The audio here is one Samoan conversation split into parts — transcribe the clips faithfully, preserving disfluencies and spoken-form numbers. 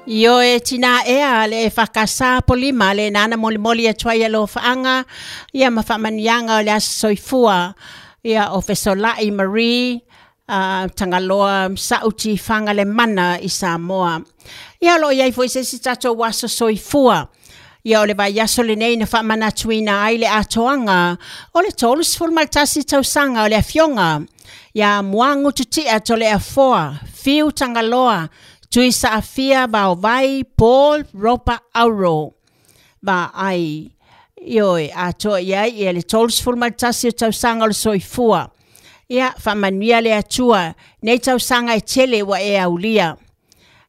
Ioe tina ea le e whakasa polima le nana molimoli atu ai alofaaga ia ma faamanuiaga o le aso soifua ia o Fesolai Marie uh, Tagaloa Sauti Fagalemana i Samoa. Ia o loo iai foi se isi tatou aso soifua. Ia o le vaiaso lenei na faamanatuina ai le atoaga o le tolu ma le tasi tausaga o le afioga ia Muagututia Toleafoa Fiu Tagaloa Tui Saafia Vaovai Paul Ropa Auro Vaai. Ioe, atoa i ai ia le tolu ma le tasi o tausaga o le soifua. Ia faamanuia le Atua nei tausaga e tele ua e aulia.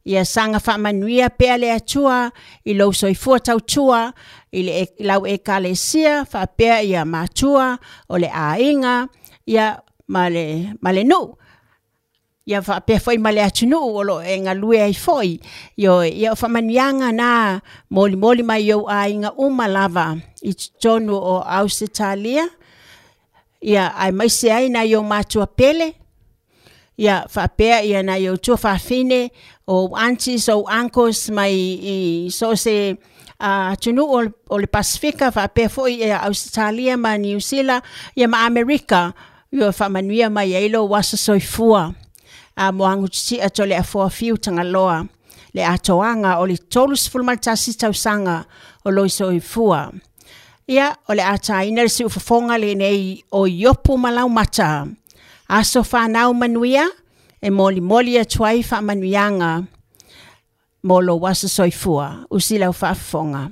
Ia saga faamanuia pea le Atua i lou soifua tautua i le lau ekalesia faapea ia matua o le aiga ia ma le, ma le nuu. Ia faapea foi ma le atunuu o loo e galue ai foi. Ioe, ia o faamanuiaga na molimoli mai ou aiga uma lava i totonu o Ausetalia. Ia aemaise ai nai ou matua pele. Ia faapea ia nai ou tuafafine, o aunties, o uncles mai i so o se uh, atunuu o, o le Pasifika, faapea foi ia Ausetalia ma Niu Sila, ia ma Amerika. Ia faamanuia mai ai lou aso soifua. A Muagututia Toleafoa Fiu Tagaloa le atoaga o le tolu ma le tasi tausaga o lou soifua. Ia o le a taina le siufofoga lenei o Iopu ma Laumata. Aso whanau manuia, e molimoli atu ai faamanuiaga mo lou aso soifua. Usi lau faafofoga.